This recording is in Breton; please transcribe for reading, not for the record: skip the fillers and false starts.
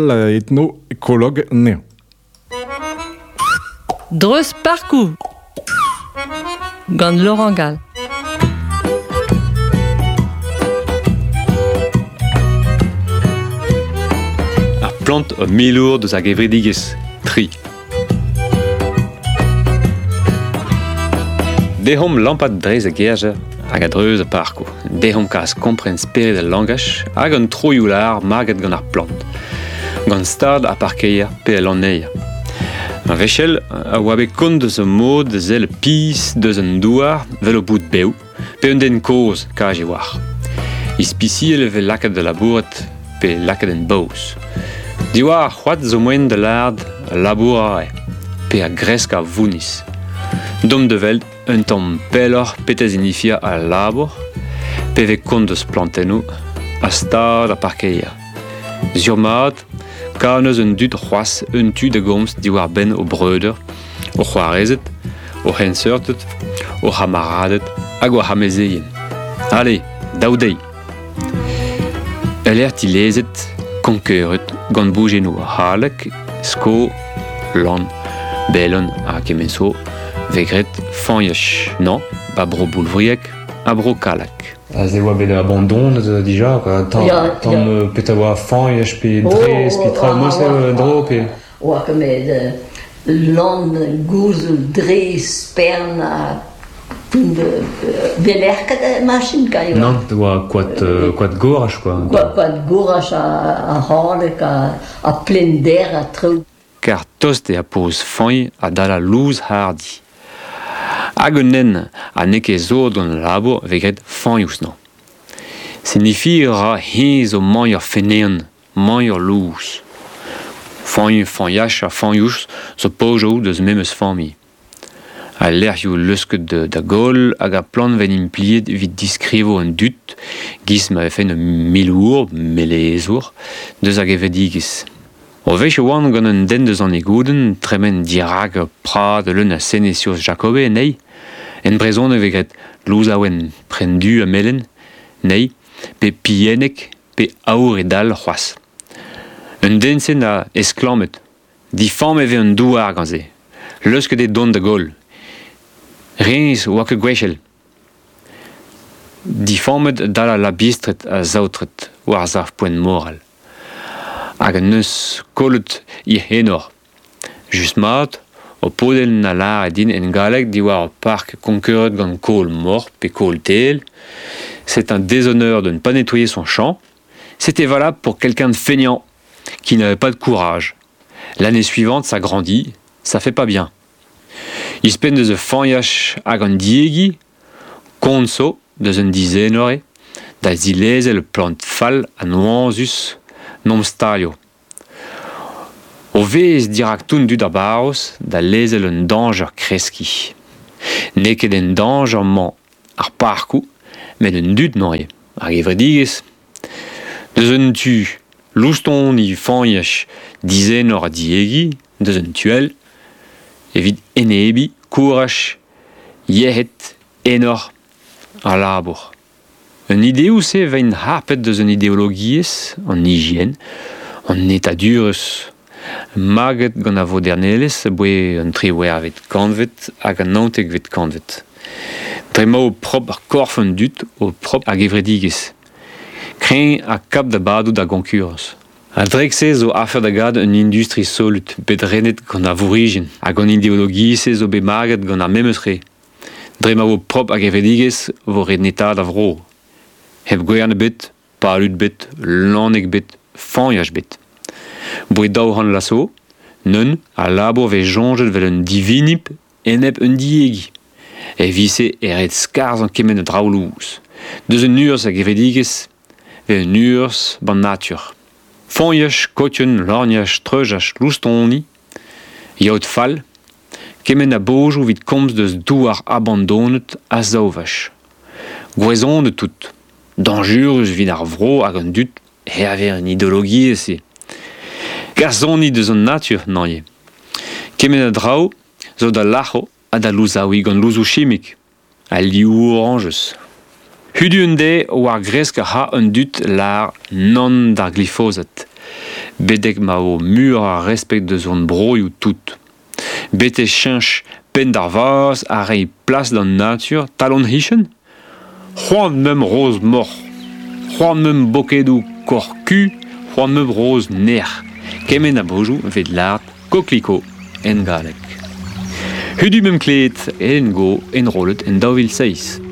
Etno-ekolog anezhañ. Dreuz parkoù gant Laurent Gall. Ar plant milour deus ar gevredigezh Tri. Dehomp lampat dreiz a gerzer hag a-dreuz ar parkoù. Dehomp kas kompren spered al langaj hag an troioù-lâr maget gant ar plant. Gant stad ar parkeier pe al lanneier. Ar wechell a oa bet kont deus ur mod da sell pizh deus an douar 'vel o bout bev, pe un den kozh kaj e oar. Ispisial e vez lakaet da labourat pe lakaet en baoz. Diwar ar c'hoad zo moaien da lâret labour eo, pe a gresk ar vounniz. Dont da welet un tamm pelloc'h petra signifia al labour, pe vez kont deus plantennoù ha stad ar parkeier. Sur-mat, ka neus un dud c'hoazh un tu da gomz diwar-benn o breudeur, o c'hoarezed, o c'henseurted, o c'hamaraded hag o c'hamezeien. Ale, daou deiz! Ul lec'h dilezet, konkeuret, gant boujennoù haleg, sko, lann, belon ha kement zo, vez graet fañch, non, ba bro Boulvriag ha bro Kallag. Aze e oa bet abandonet dija, quoi. Tamm, Ya, tamm ya. petra oa fañch pe drez pe traoù mod-se en-dro pe... Oa ket met lann gouzoug drez spern ha Belec'h ket machin ka eo. Nann, oa koad, koad goraj quoi. Koad, koad goraj ha haleg ha plender ha traoù. Kar tost eo ar poz fañ adal al louz hardi. Hag un nen ha n'eo ket sot gant al labour vez graet fañ ouzhnañ. Signifi a ra heñ zo mañ ur feneant, mañ ur louz. Fañ, fañach ha fañouz zo paojoù deus memes familh. Al lec'hioù leusket da goll hag ar plant vez implijet evit diskrivañ an dud 'giz ma vefe un milour, melezour, deus ar gevredigezh. O wech e oan gant un den deus an Egoudenn tremen dirak ur prad leun a senesioz Jacobe anezhi. En brezhoneg e vez graet louzaouenn prenn du ha melen anezhi, pe pilhennek pe aour e dal c'hoazh. Un den-se 'na esklammet Difammet e vez an douar gant se. Leusket eo dont da goll. Hennezh 'oa ket gwechall. Difammet dal al labistred ha saotret war sav-poent moral. Hag en deus kollet hec'h enor. Just mat, ho podenn a lâre din en galleg diwar ur park konkeuret gant kaol moc'h pe kaol teil. C'est un déshonneur de ne pas nettoyer son champ. C'était valable pour quelqu'un de feignant qui n'avait pas de courage. L'année suivante, ça grandit, ça fait pas bien. Ouzhpenn deus ur fañch hag an diegi, kont zo deus un dizenor eo, da zilezel plant fall ha noazus n'omp stalio. O vez dirak tout an dud ar barroz da lezel un dañjer kreskiñ. N'eo ket en dañjer-mañ ar parkoù, met an dud neuze, ar gevredigezh. Deus un tu loustoni fañch dizenor ha diegi, deus un tu all evit enebiñ kouraj, yec'hed, enor ha labour. Un ideoù-se 'veint harpet deus un ideologiezh, an higien, an netadurezh, maget gant ar vodernelezh aboae an triwec'hvet kantved hag an naontekvet kantved. Dre ma eo propr korf an dud, eo propr ar gevredigezh. Kreñv ha kap da badout ar goñkurañs. A-drek-se zo afer da gad un industri solut bet renet gant ar vourc'hizien hag an ideologiezh-se zo bet maget gant ar memes re. Dre ma vo propr ar gevredigezh vo ret netaat ar vro. Hep gwern ebet, palud bet, lanneg bet, fañch bet. Boued 200 vloaz zo, neun al labour vez soñjet 'vel un divinib enep un diegi. Evit-se e ret skarzhañ kement a draoù lous. Deus un urzh a gevredigezh ve un urzh b'an natur. Foñch, kotion, lorgnaj, treujaj, loustoni, yaod fall, kement a bojoù evit komz deus douar abandonet ha saovaj. Gouezonet tout, dañjurus evit ar vro hag an dud hervez an ideologiezh-se. Gasoni deus an natur neuze. Kement a draoù zo da lâro ha da louzaouiñ gant louzoù chimik ha liv orañjez. Hudu un deiz war gresk a ra an dud lâr nann d'ar glifosat. Bedek ma o mur a respect deus hon broioù tout. Bete cheñch penn d'ar vazh a reiñ plas d'an natur talon hichen? C'hoant meum roz moc'h. C'hoant meum bokedoù korku, c'hoant meum roz nec'h. Kement a bojoù vet lart kokliko en galleg. Hudu meum kleet en go enrollet en 2006.